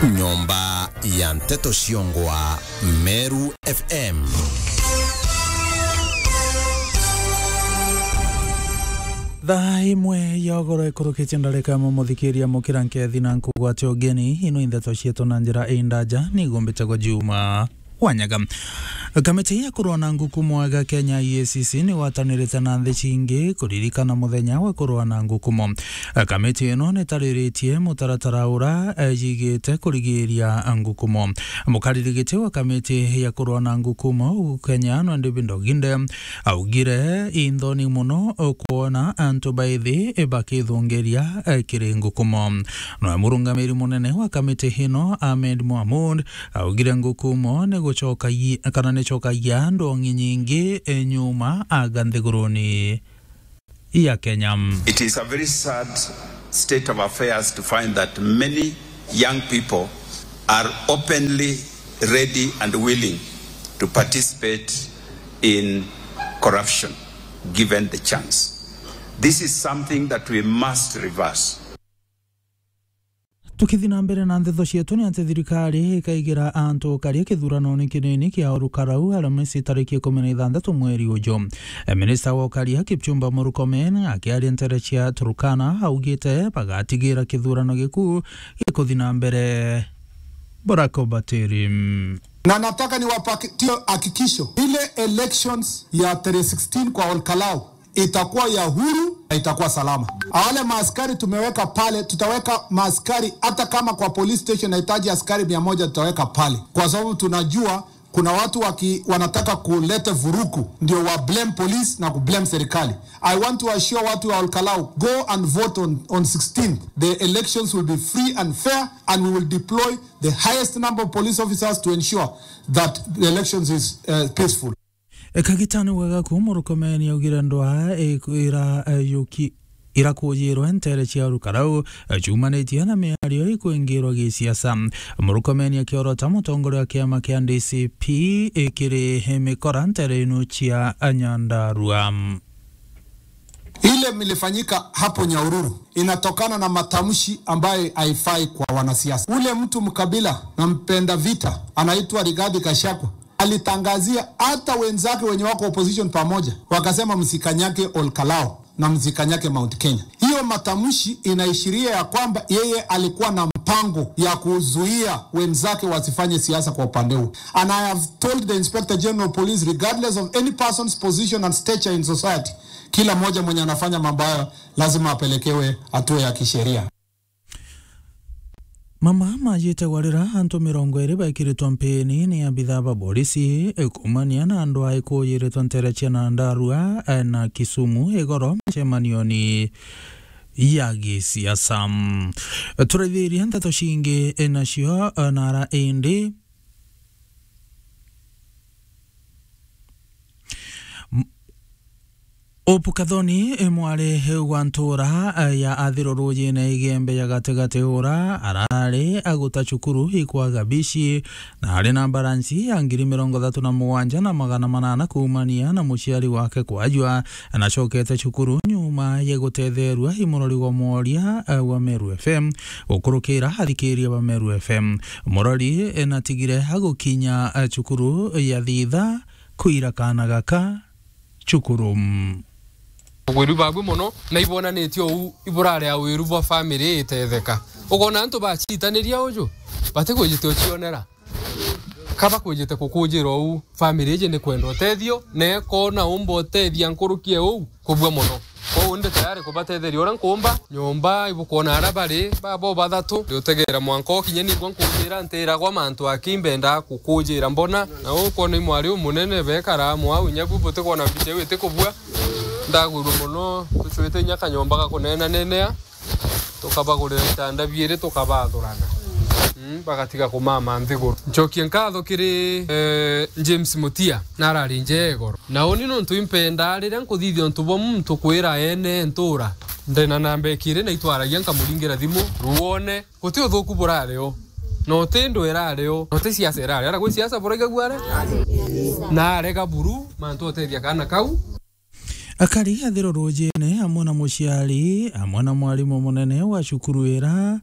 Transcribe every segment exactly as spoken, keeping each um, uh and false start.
Nyomba ya nteto ciongwa Meru F M. Thaa imwe ya ugoro ikurukitie ndarika imwe, muthikiria mukira nkethi na nkugwate ugeni. Ino i ndeto cietu na njira indaja, ni gumbite gwa Juma Wanyaga. Kamiti ya kurwa na ngukumo ega Kenya, E A C C, ni gwatanirite na nthi cingi kuririkana muthenya wa kurwa na ngukumo. Kamiti ino ni tariritie mutaratara ura, eh, yigite kurigiria ngukumo. Mukariri giti wa kamiti ya kurwa na ngukumo guku Kenya, Nwa David Oginde, augire inthoni muno kwona antu baithi bakithungiria, eh, kiri ngukumo. Nwe murungamiri munene wa kamiti ino, Ahmed Mohamud, augire ngukumo ni gucokagia, kana ni cokagia ndongi nyingi, eh, nyuma aga nthiguruni ya Kenya. It is a very sad state of affairs to find that many young people are openly ready and willing to participate in corruption given the chance. This is something that we must reverse. Tukithi na mbere na ndeto cietu, ni ati thirikari ikaigira antu ukaria kithuranone kinini kia Ol Kalou Alamisi tariki ikumi na ithanthatu mweri uju. E, minista wa ukaria Kipchumba Murkomen akiaria ntere cia Turkana augite bagatigira kithurano gikuu gikuthi na mbere. Barack Obatiri. Na nataka niwapatie hakikisho, ile elections ya tarehe sixteen kwa Ol Kalou itakuwa ya huru na itakuwa salama. Wale maaskari tumeweka pale, tutaweka maaskari hata kama kwa police station nahitaji askari mia moja, tutaweka pale, kwa sababu tunajua kuna watu waki-, wanataka kuleta vurugu, ndio wa blame police na ku blame serikali. I want to assure watu wa Ol Kalou, go and vote on, on sixteenth. The elections will be free and fair and we will deploy the highest number of police officers to ensure that the elections is, uh, peaceful. E, kagitani wega ku Murkomen augire ndwaa iku-, ira, e, yuki-, irakujirwe ntere cia Ol Kalou, e, ciumanitie na miario ikwingirwa gisiasa. Murkomen akiorota mutongoria wa kiama kia D C P, e, kiri mikora ntere inu cia Nyandarua. Ile milifanyika hapo Nyahururu inatokana na matamshi ambayo haifai kwa wanasiasa. Ule mtu mkabila na mpenda vita anaitwa Rigathi Gachagua alitangazia hata wenzake wenye wako opposition pamoja, wakasema, "Msikanyage Ol Kalou na msikanyage Mount Kenya." Hiyo matamshi inaishiria ya kwamba yeye alikuwa na mpango ya kuzuia wenzake wasifanye siasa kwa upande huu. And I have told the Inspector General of Police, regardless of any person's position and stature in society, kila mmoja mwenye anafanya mambo hayo lazima apelekewe hatua ya kisheria. Mama majite gwarira antu mirongo iri bekiritwe mpini ni abithaa ba borisi, e, kumania na andu a ikuyiritwe ntere cia Nyandarua, e, na Kisumu igoro micemanioni ya gisiasa. Turaithirie ndeto cingi, e, nacio, e, nara indi M-, Hope Kathoni, e, mwari wa ntura, e, ya Athiro Rujine Igembe ya gatigati ura arari aguta cukuru ikwaga bici na ari na baransi ya ngiri mirongo ithatu na mugwanja na magana manana kuumania na muciari wake kwajua, anacokete cukuru nyuma ya gutetherua i murori wa mworia, e, wa Meru F M gukurukira athikiria ba Meru F M. Murori, e, natigire agukinya, e, cukuru ya thitha kwira kaana gaka cukuru. Ugwiru babu mono, na ibonanitie uu iburare ya wiru bwa family itetheka. Ukona antu bacitaniria uju, batikwijite ucionera. Kaba kwijite kukujira uu, family iji ni kwenda utethio, na ikona umba utethia nkuruki e uu, kubua mono. Kwou ndi tayari kubatetheria uria nkumba. Nyomba ibukwona aria bari, babo bathatu, ndi utegera mwanka ukinye nigwa nkujira, ntiragwa mantu aki mbendaa kukujira mbona. Na ukwona i mwari umunene bekara amwe au, inya bu butikwona mbica iu itikubua. Ndagwirua mono, tucwite inya kanyomba ga kunenanenea. Tukabagurira itanda biiri, tukabathurana. Mm, bagatiga kumama nthiguru. Ncokie nkatho kiri, eh, James Mutia, na arari nje igoro. Na uni nontu impendaa riria nkuthithia untu bwa muntu kwira ene ntura. Ndena namba ikiri na itwaragia nkamuringira thimu, ruone, guti uthuku burari o. Na uti ndwera ari o. Na uti siasa irari. Ara gwi siasa buraigagua ari? Na arega buru, mantu utethia kaana kau. Akari Athiro Rujine amwe na muciari, amwe na mwarimu munene wa cukuru ira,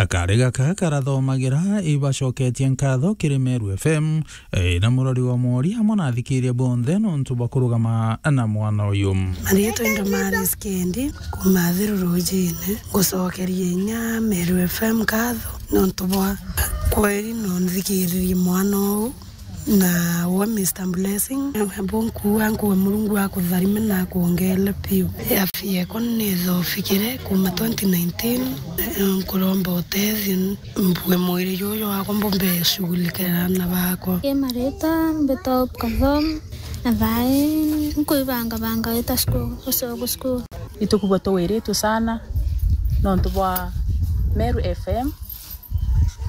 Akari gaka karathomagira ibacoketie nkatho kiri Meru F M, eh, na murori wa Mworia amwe na athikiria bonthe nontu bwa kurugama na mwana uyu. Marietwa ni Damaris Kendi, kuma Athiru Rujine. Ngucokeria inya Meru F M nkatho nontu bwa kweri no nthikiririe mwana uu. Na we Mister Blessing, abo nkuuga nkuuga Murungu akutharime na akuongeele piu. Afya yako nithofikire kuma twenty nineteen, nkuromba utethio mbue mwiri juju wakwa mbumbe shugulikira na bakwa. Ki maritwa mbitwa Hope Kathom, na thaai nkwibangabanga wita cukuru, gucoka cukuru. Itukubwa tuwiritwe sana nontu bwa Meru F M.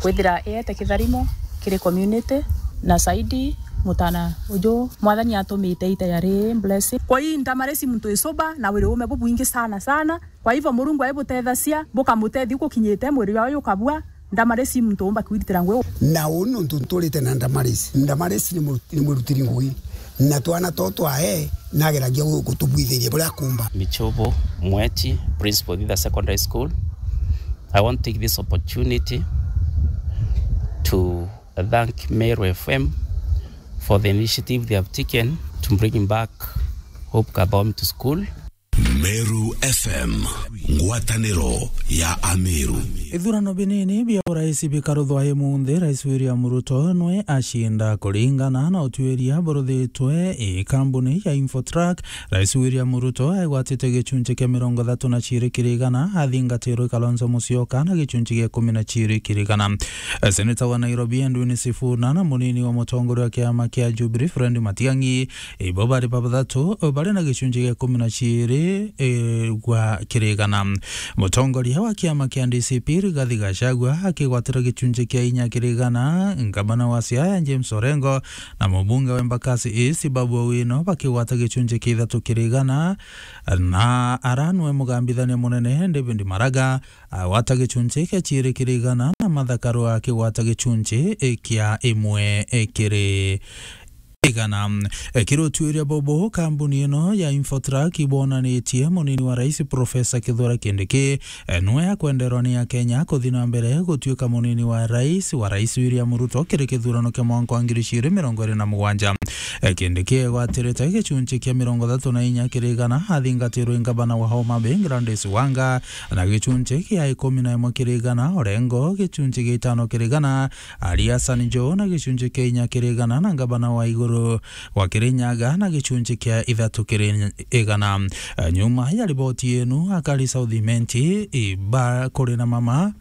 Kwithira iete kitharimo kiri community na saidi mutana uju Mwathani atumite ita yari blessing. Kwa hii ndamari si muntu icuba na wiri ume bubwingi sana sana. Kwa hivyo Murungu aibutethacia, bukamutethia gukinyite mwiri wao jukabua, ndamari si muntu umba kwitira ngui. Na uu nontu nturite na ndamari ici. Ndamari ici ni mu-, ni mwirutiri ngui. Na twana too twae nageragia gu-, gutubwithiria buria akumba. Michobo Mweti, Principal Thitha Secondary School. I want to take this opportunity to thank Meru F M for the initiative they have taken to bring back Hope Kathom to school. Meru F M, ngwataniro ya Ameru. Ithurano binini bia urais bikaruthwa imunthi, Rais William Ruto nwe acinda kuringana na utuiria buruthitwe i kambuni ya Infotrak. Rais William Ruto aigwatite gicunci kia mirongo ithatu na ciiri kiri igana, athingatirwe Kalonzo Musyoka na gicunci gia ikumi na ciiri kiri igana. Seneta wa Nairobi Edwin Sifuna na munini wa mutongoria wa kiama kia Jubilee Fred Matiang'i, ibo bari babathatu bari na gicunci gia ikumi na ciiri, e, gwa kiri igana. Mutongoria wa kiama kia D C P Rigathi Gachagua akigwatira gicunci kia inya kiri igana, ngavana wa Siaya James Orengo na mubunge wa Embakasi East Babu Owino bakigwata gicunci kia ithatu kiri igana, na aranwe mugambithania munene David Maraga agwata gicunci kia ciiri kiri igana, na Martha Karua akigwata gicunci kia imwe kiri igana. Kiri utuiria bubu, kambuni ino ya Infotrak ibonanitie munini wa rais Professor Kithure Kindiki, e, nwe akwenderwa ni Akenya kuthi na mbere gutuika munini wa rais wa Rais William Ruto kiri kithurano kia mwanka wa ngiri ciiri mirongo iri na mugwanja. E, Kindiki egwatirite gicunci kia mirongo ithatu na inya kiri igana, athingatirwe ngavana wa Homa Bay Gladys Wanga na gicunci kia ikumi na imwe kiri igana, Orengo gicunci gia itano kiri igana, Ali Hassan Joho na gicunci kia inya kiri igana, na ngavana wa iguru wa Kirinyaga na gicunci kia ithatu kiri igana. Nyuma ya riboti yenu, akari South Imenti iba kuri na mama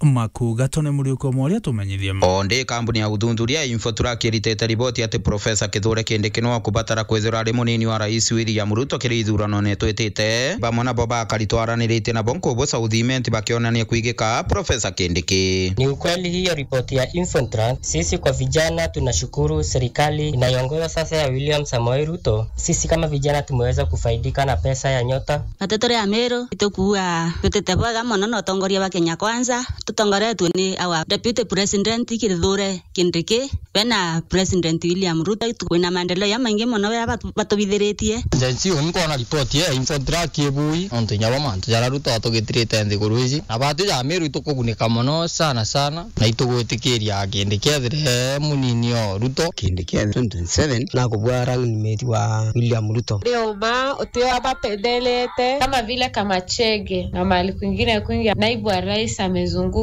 makuga tone Muriuki Omoria tumenyithie. O ndi kambuni ya uthuthuria ya Infotrak iritite riboti ati Professor Kithure Kindiki no akubatara kwithirwa ari munini wa Rais William Ruto kiri ithurano ni twitite. Bamwe nabo bakari twaraniritie nabo nkubu South Imenti bakionania kwigika Professor Kindiki. Ni ukweli hiyo ripoti ya Infotrak? Sisi kwa vijana tunashukuru serikali inayoongozwa sasa ya William Samoei Ruto. Sisi kama vijana tumeweza kufaidika na pesa ya Nyota. Bate turi Ameru, itukuua tutite bwega mono na utongoria bwa Kenya Kwanza. Tutongoretwe ni our Deputy President Kithure Kindiki, we na President William Ruto, kwina maendeleo jamaingi mono jaria batu-, batubithiritie. Gen Z, uni nkwona ripoti ya Infotrak ibui, nontu inya bo mantu jaria Ruto atugitirite nthiguru iji. Na batu ja Ameru itukugunika mono sana sana, na itugwitikiria Kindiki ethire munini o Ruto. Kindiki ethire twenty twenty-seven nakubwa running mate wa William Ruto. Ndio ma utio abapendelete kama vile Kamachege na mahali kwingine kwingi, naibu wa rais amezunguka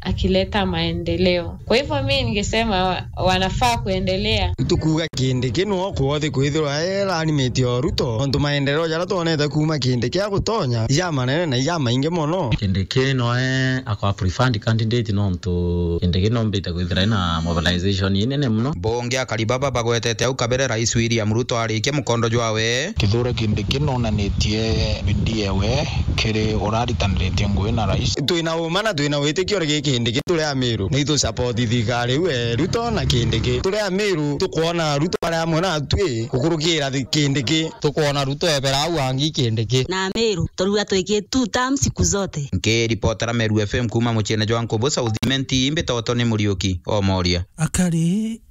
akileta maendeleo. Kwa hivyo mimi ningesema wa-, wanafaa kuendelea. Tukuuga Kindiki no kwothi kwithirwa e running mate o Ruto, nontu maendeleo jaria twonete kuuma Kindiki agutonya, ija manene na ija maingi mono. Kindiki noe akwa preferred candidate nontu Kindiki nombite kwithira ina mobilization inene mono. Mbunge akari baba bagwetete au kabere Rais William Ruto arikia mukondo jwawe. Kithure Kindiki nonanitie bidii ewe kiri uraritaniritie ngugi na rais. Twina uma na twina witikio rigi Kindiki turi Ameru. Ni tu support thirikari iu e Ruto na Kindiki. Turi Ameru tukwona Ruto ari amwe natwi gukurukira thi-, Kindiki. Tukwona Ruto ebera au angi Kindiki. Na Ameru turuga twiki two term siku zote. Nkiripotera Meru F M kuuma muciene jwa Nkubu South Imenti, mbitoto ni Muriuki Omoria. Akari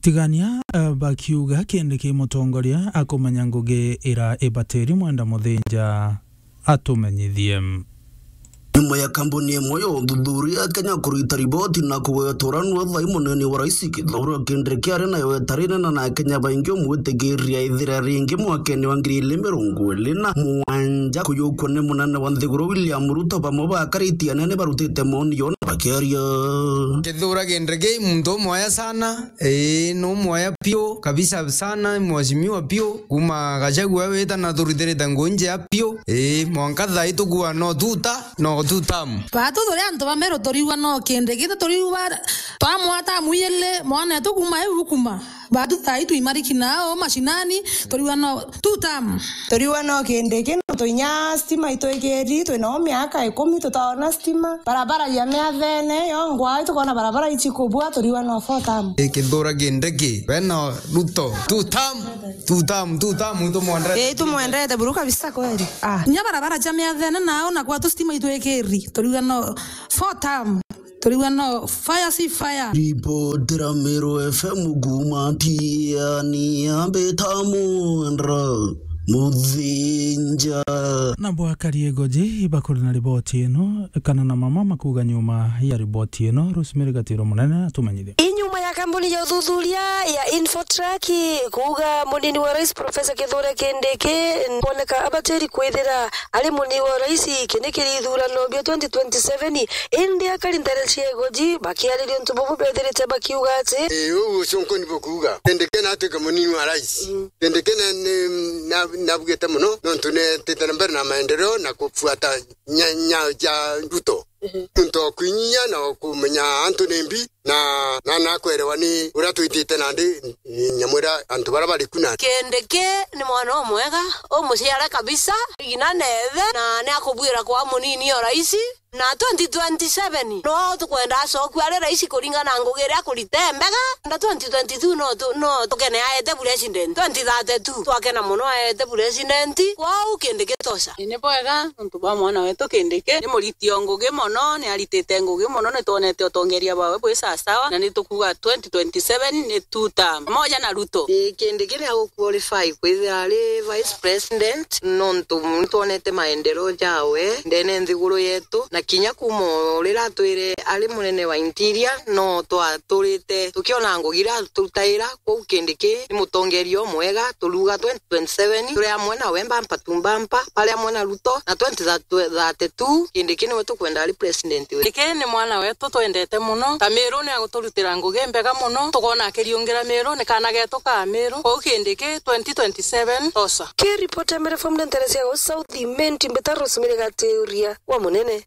Tigania, eh, bakiuga Kindiki mutongoria akumenya ngugi ira ibatiri Mwenda Muthinja atumenyithie. Nyuma ya kambuni imwe ya uthuthuria Kenya kurita riboti na kugweta uranwa thai munene wa rais Kithure Kindiki ari nayo itari nene na Akenya baingi umwitikiria ithira ringi mwakene wa ngiri ili mirongo ili na mugwanja kuyukwa ni munene wa nthiguru William Ruto, bamwe bakaritie anene barutite maoni yona bakiaria. Kithure Kindiki muntu umwaya sana, ii, ni umwaya piu kabisa sana, mheshimiwa piu, kuma Gachagua wita na turithirite ngugi njea piu, ii, mwanka thai tukua no tuta. No two term. Baatu turi antu ba Meru turiuga no Kindiki, turiuga twamwata mwiyele mwana etu kuma eu kuma. Baatu thai twimariki nao mashinani, turiuga no two term. Turiuga no Kindiki, no twinya stima itwikiri, twinao miaka ikumi tutaona stima. Barabara ya miathene yo ngwai tukona barabara ichi kubua, turiuga no four term. Kithure Kindiki, we no Ruto, two term. Two term, two term, itumwendete. Ii, itumwendete buru kabisa kweli. Ah. Nya barabara cia miathene nao na kwatu stima itwikiri. Turiuga no four term. Turiuga no fire si fire. Ribotera Meru F M kuma Tiani ambita Mwendra Muthinja. Na bwakarie ngoji ibakuri na riboti ino, kana na mama makuga nyuma ya riboti ino, Rosemary Gatiro Munene atumenyithie. Inyuma ya kambuni ya uthuthuria ya Infotrak kuuga munini wa rais Professor Kithure Kindiki kwoneka abatiri kwithira ari munini wa rais kindi kiri ithurano bia twenty twenty-seven, indi akari ntere cia igoji bakiariria untu bubu bethirite bakiuga ati, ii, uu ucunku ni bukuuga Kindiki na atuike munini wa rais. Mm. Kindiki na, ni, na, nabugite muno nontu netite na mbere na maendeleo na kufuata nya, nya ja Ruto. Mhm. Nontu okwinyia na okumenya antu ni mbi, na, na nakwerewa ni uria twitite nandi, ni nyamwira antu baria bari ku na. Kindiki ni mwana umwega, umuciare kabisa, ina nethe, na ni akubwira kwa munini o raisi, na twenty twenty-seven, no tukwenda acokua ari raisi kuringana na ngugi iria akurita mbega, na twenty twenty-two no tu, no tukene aete president, twenty thirty-two, twakena muno aete president, kwou Kindiki tosha. Ni bwega, nontu bwa mwana wetu Kindiki, ni muriti o ngugi mono, ni aritite ngugi mono, ni twonete utongeria bwawe bwi sawasawa, na ni tukuuga twenty twenty-seven ni two term, pamoja na Ruto. Ii, Kindiki ni aguqualify kwithira ari vice president, nontu ni twonete maendeleo jawe ndene nthiguru yetu, na kinya kuma o riria atwire ari munene wa interior, no twaturite tukiona ngugi iria aturutaira. Kwou Kindiki ni mutongeria umwega, turuga twenty twenty-seven turi amwe nawe mbampa tu mbampa, bari amwe na Ruto, na twenty thirty-two Kindiki niwe tukwenda ari president wetu. Kindiki ni mwana wetu twendete muno, ta Miru ni aguturutira ngugi mbega muno, tukona akiriungira Miru, ni kana getu ka Miru. Kwou Kindiki twenty twenty-seven tosa. Ki ripoti ya Meru F M ntere cia gau South Imenti, mbita Rosemary Gatiuria wa Munene.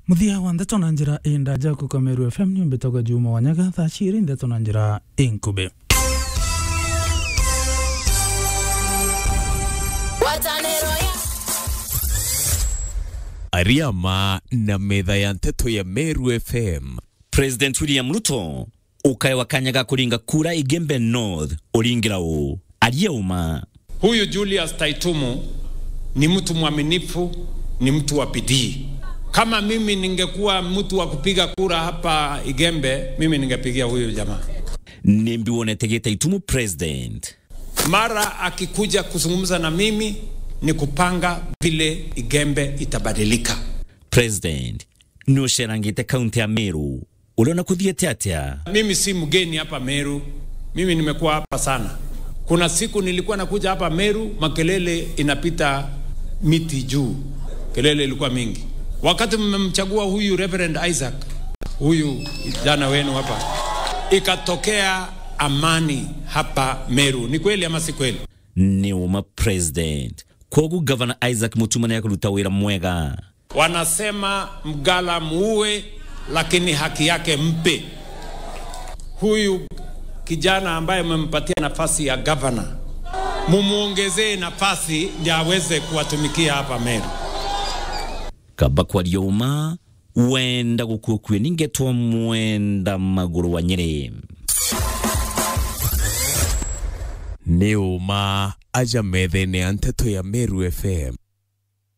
Muthia wa ndeto na njira indaja kuka Meru F M ni mbitagwa Juma Wanyaga, thaa ciiri ndeto na njira inkubi. Ariama na metha ya nteto ya Meru F M. President William Ruto ukaewa kanya ga kuringa kura Igembe North, uringira uu? Aria uma. Huyu Julius Taitumu ni mtu mwaminifu, ni mtu wa bidii. Kama mimi ningekuwa mtu wa kupiga kura hapa Igembe, mimi ningepigia huyu jamaa. Nimbi wonete Gitaitumu president? Mara akikuja kuzungumza na mimi, ni kupanga vile Igembe itabadilika. President, ni ucerangite kaunti ya Meru. Uliona kuthiete atia? Mimi si mgeni hapa Meru. Mimi nimekuwa hapa sana. Kuna siku nilikuwa nakuja hapa Meru, makelele inapita miti juu. Kelele ilikuwa mingi. Wakati mmemchagua huyu Reverend Isaac, huyu kijana wenu hapa, ikatokea amani hapa Meru. Ni kweli ama si kweli? Ni uma, president. Kwogu Governor Isaac Mutuma ni akuruta wira mwega. Wanasema mgala muue, lakini haki yake mpe. Huyu kijana ambaye mmempatia nafasi ya governor, mumuongezee nafasi ndio aweze kuwatumikia hapa Meru. Kaba kwaria uma, wenda gukua kue ningetwa Mwenda Maguru wa Nyeri. Ni uma aja methene ya nteto ya Meru F M.